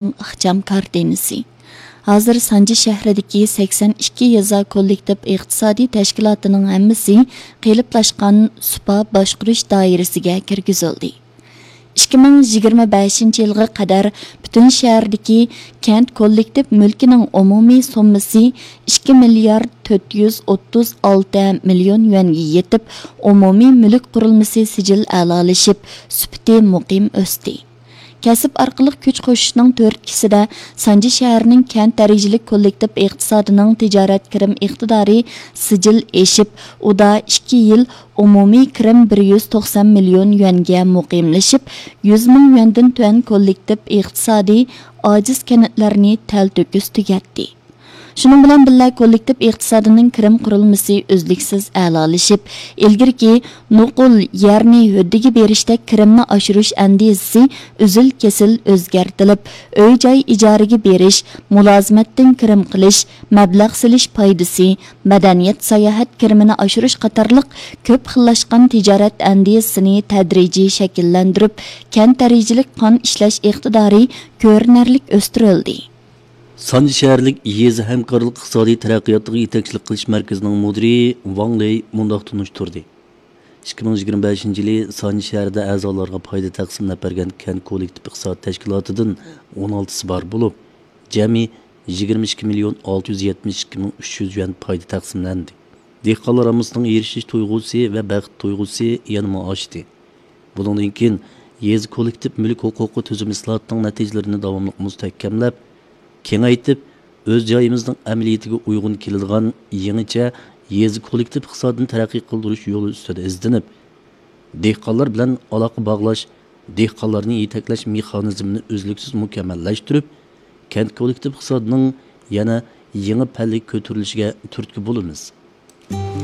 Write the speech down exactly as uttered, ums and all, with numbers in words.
ئىخچام كارتىنىسى. ھازىر سانجى شەھىرىدىكى سەكسەن ئىككى يېزا كوللېكتىپ ئىقتىسادىي تەشكىلاتىنىڭ ھەممىسى قېلىپلاشقان سۇپا باشقۇرۇش دائىرىسىگە كىرگۈزۈلدى. ئىككى مىڭ يىگىرمە بەشىنچى يىلغا قەدەر پۈتۈن شەھەردىكى كەنت كوللېكتىپ مۈلكىنىڭ ئومۇمىي سوممىسى ئىككى مىليارد تۆت يۈز ئوتتۇز ئالتە مىليون يۈەنگە يېتىپ، ئومۇمىي مۈلۈك قۇرۇلمىسى سىجىل ئەلالىشىپ، سۈپىتى مۇقىم ئۆستى. كەسىپ ئارقىلىق كۈچ قوشۇشنىڭ تۈرتكىسىدە، سانجى شەھىرىنىڭ كەنت دەرىجىلىك كوللېكتىپ ئىقتىسادىنىڭ تىجارەت كىرىم ئىقتىدارى سىجىل ئېشىپ، ئۇدا ئىككى يىل ئومۇمىي كىرىم بىر يۈز توقسان مىليون يۈەنگە مۇقىملىشىپ، يۈز مىڭ يۈەندىن تۆۋەن كوللېكتىپ ئىقتىسادى ئاجىز كەنتلەرنى تەلتۆكۈس تۈگەتتى. شۇنىڭ بىلەن بىللە، كوللېكتىپ ئىقتىسادىنىڭ كىرىم قۇرۇلمىسى ئۈزلۈكسىز ئەلالىشىپ، ئىلگىرىكى نوقۇل يەرنى ھۆددىگە بېرىشتەك كىرىمنى ئاشۇرۇش ئەندىزىسى ئۈزۈل-كېسىل ئۆزگەرتىلىپ، ئۆي-جاي ئىجارىگە بېرىش، مۇلازىمەتتىن كىرىم قىلىش، مەبلەغ سېلىش پايدىسى، مەدەنىيەت، ساياھەت كىرىمىنى ئاشۇرۇش قاتارلىق كۆپ خىللاشقان تىجارەت ئەندىزىسىنى تەدرىجىي شەكىللەندۈرۈپ، كەنت دەرىجىلىك قان ئىشلەش ئىقتىدارى كۆرۈنەرلىك ئۆستۈرۈلدى. سانجى شەھەرلىك يېزا ھەمكارلىق ئىقتىسادىي تەرەققىياتىغا يېتەكچىلىك قىلىش مەركىزىنىڭ مۇدىرى ۋاڭ لېي مۇنداق تونۇشتۇردى: ئىككى مىڭ يىگىرمە بەشىنچى يىلى سانجى شەھىرىدە ئەزالارغا پايدا تەقسىملەپ بەرگەن كەنت كوللېكتىپ ئىقتىساد تەشكىلاتىدىن ئون ئالتىسى بار بولۇپ، جەمئىي يىگىرمە ئىككى مىليون ئالتە يۈز يەتمىش ئىككى مىڭ ئۈچ يۈز يۈەن پايدا تەقسىملەندى. دېھقانلار ھاممىسىنىڭ ئېرىشىش تۇيغۇسى ۋە بەخت تۇيغۇسى يەنىمۇ ئاشتى. بۇنىڭدىن كېيىن يېزا كوللېكتىپ مۈلۈك ھوقۇقى تۈزۈم ئىسلاھاتىنىڭ نەتىجىلىرىنى داۋاملىق مۇستەھكەملەپ، كېڭەيتىپ، ئۆز جايىمىزنىڭ ئەمەلىيىتىگە ئۇيغۇن كېلىدىغان يېڭىچە يېزا كوللېكتىپ ئىقتىسادىنى تەرەققىي قىلدۇرۇش يولى ئۈستىدە ئىزدىنىپ، دېھقانلار بىلەن ئالاقە باغلاش، دېھقانلارنى يېتەكلەش مېخانىزمىنى ئۈزلۈكسىز مۇكەممەللەشتۈرۈپ، كەنت كوللېكتىپ ئىقتىسادىنىڭ يەنە يېڭى پەللىگە كۆتۈرۈلۈشىگە تۈرتكە بولىمىز.